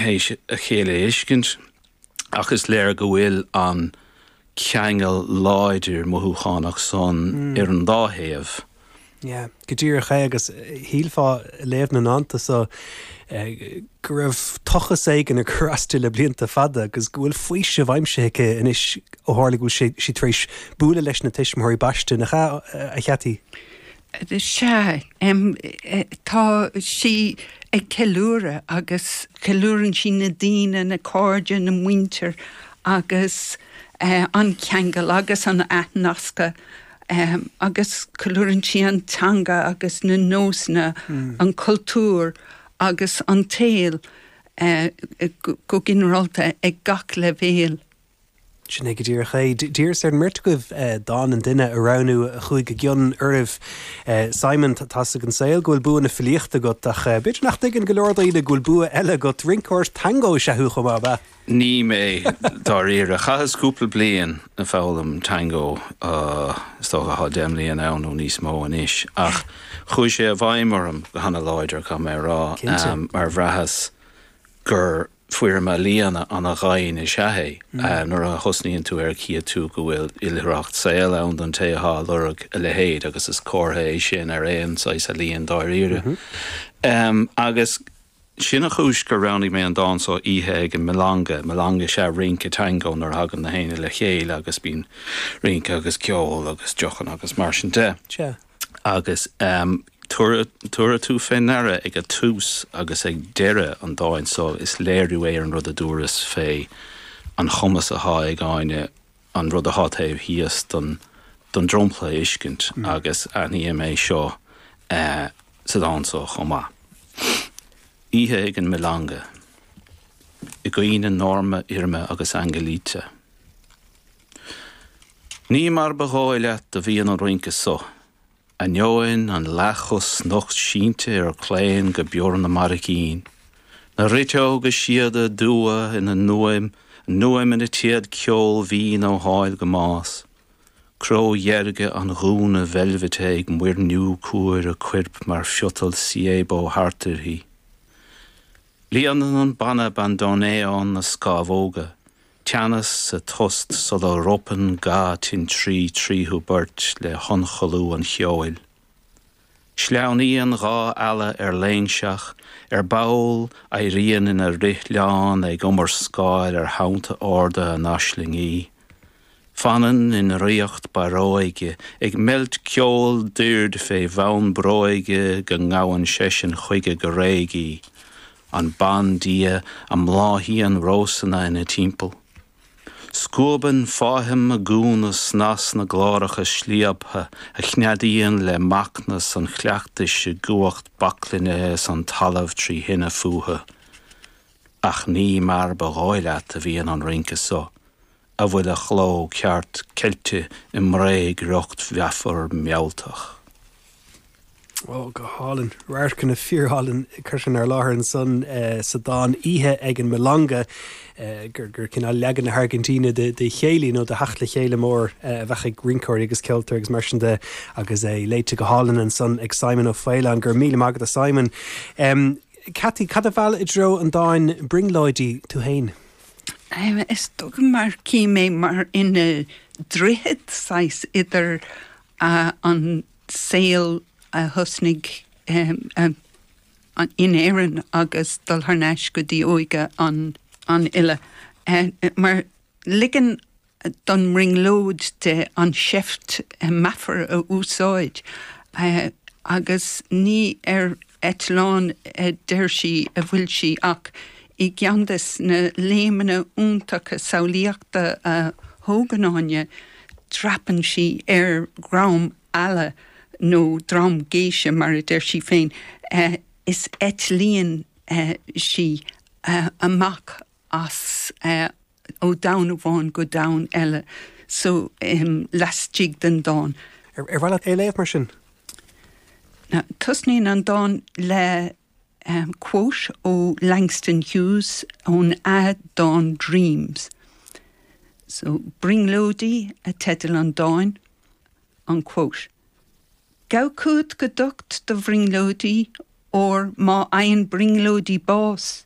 théis a chéile a fheiscint ach is léir go bhfuil an ceangal láidir mothúchánach san ar an dá thaobh. Yeah, go díreach é agus shílfeá ag léamh na ndánta so go raibh tochas éigin ag cur as di le blianta fada agus go bhfuil faoiseamh aimsithe aici anois ó tharla go bhfuil sí tar éis bualadh leis na tuismitheoirí baiste, nach ea, a Cheaití? Sea, tá sí ag ceiliúradh agus ceiliúrann sí na daoine, na cairde, na muintir agus an ceangal agus an athnascadh agus ceiliúrann sí an teanga agus na nósanna, an cultúr agus an tsaol go ginearálta ag gach leibhéal. Sin é go díreach é. D'iarras ar an mbeirt agaibh dán an duine a roghnú a chuaigh i gcion oraibh. Simon, tá 'fhios ag an saol go bhfuil bua na filíochta agat ach b'fhéidir nach dtuigeann go leor daoine go bhfuil bua eile agat. Rinceoir tangó is ea thú chomh maith, ab ea? Ní mé, dáiríre. Chaitheas cúpla bliain ag foghlaim tangó, is dócha tá 10 mbliana ann nó níos mó anois, ach chuaigh sé i bhfeidhm orm go hana-láidir, caithfidh mé a rá, mar bhraitheas gur foirm ealaíona ana-dhoimhin is ea é. Nuair a thosnaíonn tú air chífidh tú go bhfuil oilithreacht saoil ann don té atá ag lorg a leithéid agus is comhartha é sin ar aon saghas ealaíon dáiríre. Agus sin an chúis gur roghnaigh mé an dán so, Oíche ag an Milonga. Milonga is ea rince tango nuair a thagann na héinne le chéile agus bíonn rince agus ceol agus deochanna agus mar sin de. Agus tabharfaidh tú fé ndeara ag a tús agus ag deireadh an dáin so, is léiriú é ar an rud a dúras fé an chumas athá ag Áine an rud athá taobh thíos don dromchla a fheiscint agus aithním é seo sa dán so chomh maith. Oíche ag an Milonga. I gcuimhne Norma, Irma agus Angelita. Ní mar ba dhóigh leat do bhíonn an rince so, ainneoin an leathchos nocht sínte ar claon go bior na mbarraicín, na riteoga síoda dubha ina n-uaim, a n-uaim ina téad ceoil mhín ó sháil go más, cró dheirge an ghúna veilbhite ag muirniú cuair a coirp mar phiotail siébó thart uirthi. Líonann an banna bandoneon na scámhóga, Teannas sa tost sula ropann ga tintrí tríothu beirt le hionchollú an cheoil. Sleamhnaíonn dha eala ar léinseach, ar ball éiríonn ina roithleán ag iomrascáil ar thonnta arda a n-aislingí. Fanann i ndraíocht barróige, ag meilt ceol doird fé bhonn bróige go ngabhann seisean chuige go réidh í. An bandia a mbláthaíonn rósanna ina timpeall. Scuabann fáithim a gúna snas na gcláracha slíoptha a chneadaíonn le macnas an chleachtais i gcumhacht baclainne is an talamh trí thine fúthu. Ach ní mar ba dhóigh leat a bhíonn an rince so, a bhfuil a chló ceart ceilte i mbréagriocht mheafar mealltach. Ó, go hálainn. Radharcanna fíorálainn curtha inár láthair ansan sa dán Oíche ag an Milonga, gur gur cineál leagan na hAirgintíne de de chéilí nó de theacht le chéile mór a bheadh ag rinceoirí agus ceoltóirí agus mar sin de agus é léite go hálainn ansan ag Simon Ó Faoláin. Go raibh míle maith agat a Simon. Ceaití, cad a mheall i dtreo an dáin Brionglóidí tú féin? Is dócha mar cím é mar ina droichead saghas idir an saol a thosnaigh in Éirinn agus dul thar n-ais go dtí óige an fhile. Mar ligean don mbrionglóid di an tseift meafar a úsáid agus ní ar eitleán a deir sí a bhfuil sí ach i gceann des na léimeanna iontacha samhlaíochta a thógann Áine, dreapann sí ar dhream eala nó dream géise mar a deir sí féin, is eitlíonn sí amach as ó domhan amháin go domhan eile so laistigh den dán. Ar mhaith leat é a léamh mar sin? Tosnaíonn an dán le quote ó Langston Hughes ón a dán Dreams. So Brionglóidí a teideal an dáin. An quote. Gabh chugat go docht do bhrionglóidí, óir má fhaigheann brionglóidí bás.